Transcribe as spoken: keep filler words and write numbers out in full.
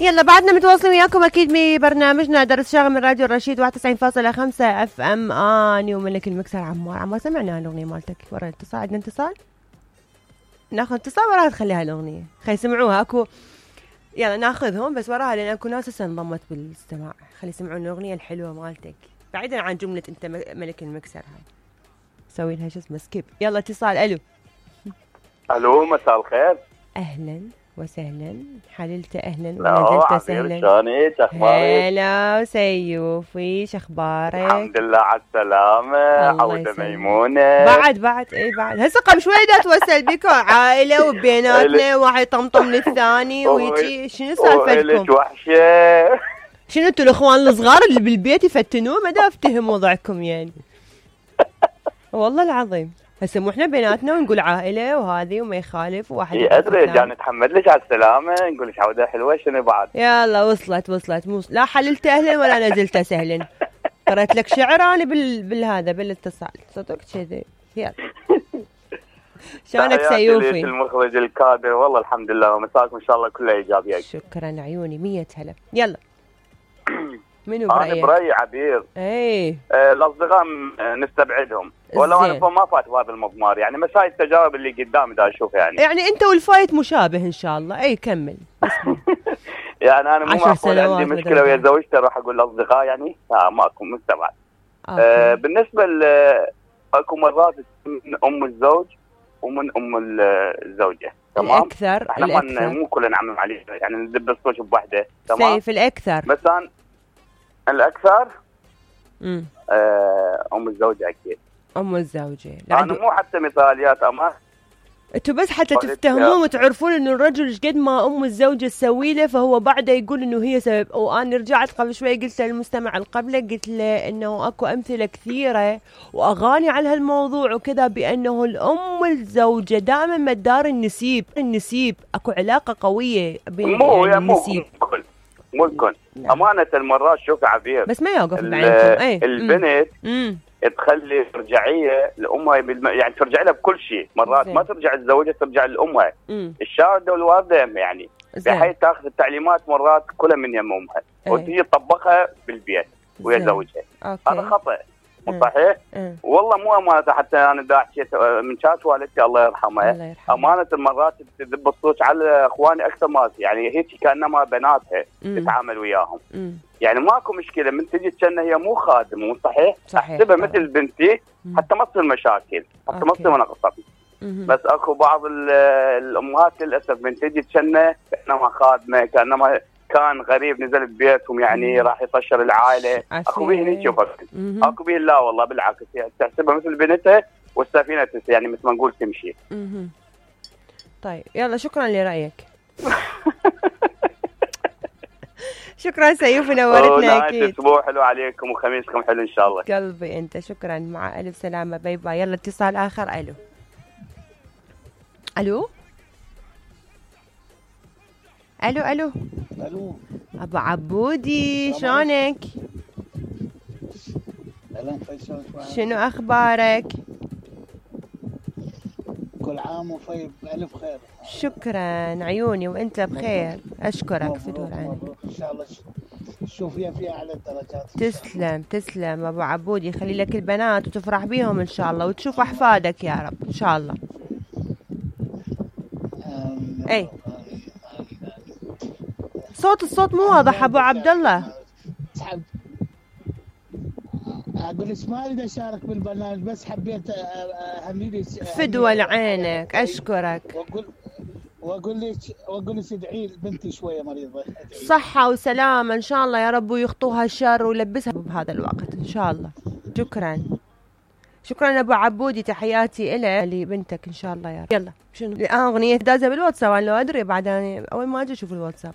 يلا بعدنا متواصلين وياكم اكيد ببرنامجنا درس شاغل من راديو الرشيد واحد وتسعين فاصلة خمسة اف ام. اني وملك المكسر عمار. عمار سمعنا الاغنيه مالتك ورا الاتصال. عندنا اتصال ناخذ اتصال وراها تخليها الاغنيه خلي يسمعوها. اكو يلا ناخذهم بس وراها لان اكو ناس هسه انضمت بالاستماع. خلي يسمعون الاغنيه الحلوه مالتك بعيدا عن جمله انت ملك المكسر هاي. سوي لها شو اسمه سكيب. يلا اتصال. الو الو مساء الخير. اهلا وسهلا حللت اهلا ونزلت سهلا. شلونك اخبارك؟ هلا سيوف ويش اخبارك؟ الحمد لله على السلامة. عودة ميمونة. بعد بعد اي بعد هسه قبل شوي دا توصل بكم عائلة وبيناتنا واحد يطمطم للثاني ويجي. شنو سالفتكم؟ وحشة. شنو انتوا الاخوان الصغار اللي بالبيت يفتنون؟ ما دا افتهم وضعكم يعني. والله العظيم هسه مو احنا بيناتنا ونقول عائله وهذه وما يخالف وواحد. اي ادري جا نتحمد لك على السلامه نقول لك عوده حلوه. شنو بعد؟ يلا وصلت وصلت مو لا حللت اهلا ولا نزلت سهلا. قرأت لك شعر انا بال... بالهذا بالاتصال صدق كذي. يلا شلونك سيوفي؟ المخرج الكادر. والله الحمد لله ومساكم ان شاء الله كلها ايجابيه. شكرا عيوني مية هلا. يلا منو برأيك؟ انا برأيي عبير. اي آه الاصدقاء نستبعدهم ولو انا ما فات بهذا المضمار يعني بس هاي التجارب اللي قدامي دا اشوف يعني يعني انت والفايت مشابه ان شاء الله. اي كمل. يعني انا مو معقول عندي مشكله ويا زوجتي اروح اقول الاصدقاء يعني لا ماكو مستبعد. آه بالنسبه ل اكو مرات من ام الزوج ومن ام الزوجه تمام. الاكثر احنا الأكثر. مو كلنا نعمم عليه يعني ندب الصوت بوحده تمام. سيف الاكثر مثلا الاكثر امم آه ام الزوجه اكيد. ام الزوجه انا مو حتى مثاليات اما انتوا بس حتى تفتهمون وتعرفون انه الرجل ايش قد ما ام الزوجه تسوي له فهو بعده يقول انه هي سبب. وانا رجعت قبل شوي قلت للمستمع اللي قبله قلت له انه اكو امثله كثيره واغاني على هالموضوع وكذا بانه الام الزوجه دائما مدار النسيب. النسيب اكو علاقه قويه بين مو يعني النسيب مو مو الكل. امانه المرات شوف عبير بس ما يوقف بعينكم. اي البنت امم تخلي ترجعيه لامها بالم... يعني ترجع لها بكل شيء. مرات زي. ما ترجع الزوجه ترجع لامها الشارده والوالده يعني بحيث تاخذ التعليمات مرات كلها من يم امها وتجي تطبقها بالبيت ويا زوجها. هذا خطا مو صحيح. والله مو امانه حتى انا دا حكيت من كانت والدتي الله يرحمها امانه المرات تذب الصوت على اخواني اكثر ما يعني هيك كانما بناتها تتعامل وياهم. مم. يعني ماكو مشكله من تجي تشنه هي مو خادمه مو صحيح. احسبها مثل بنتي حتى ما تصير مشاكل حتى ما تصير مناقصات. بس اكو بعض الامهات للاسف من تجي تشنه كانما خادمه كانما كان غريب نزل ببيتهم يعني راح يطشر العائله. اكو بيه هيك شوفك اكو بيه لا والله بالعكس يعني تحسبها مثل بنتها والسفينه يعني مثل ما نقول تمشي. مم. طيب يلا شكرا لرايك. شكرا سيوف نورتنا اكيد. اسبوع حلو عليكم وخميسكم حلو ان شاء الله. قلبي انت شكرا مع الف سلامه. باي باي. يلا اتصال اخر. الو الو الو الو الو ابو عبودي شلونك؟ اهلا فيصل. شنو اخبارك؟ كل عام وفي بألف خير. شكرا عيوني وانت بخير. اشكرك في دور عينك ان شاء الله تشوفيها في اعلى الدرجات. تسلم تسلم ابو عبودي. خلي لك البنات وتفرح بيهم ان شاء الله وتشوف احفادك يا رب ان شاء الله. اي صوت الصوت مو واضح ابو عبد الله. اقول لك ما اريد اشارك بالبرنامج بس حبيت اهنيك فدوى لعينك. اشكرك واقول واقول لك واقول لك ادعي بنتي شويه مريضه. صحه وسلامه ان شاء الله يا رب ويخطوها الشر ويلبسها بهذا الوقت ان شاء الله. شكرا شكرا ابو عبودي. تحياتي إلك لبنتك ان شاء الله يا رب. يلا شنو اغنيه دازه بالواتساب انا لو ادري بعد انا اول ما اجي اشوف الواتساب.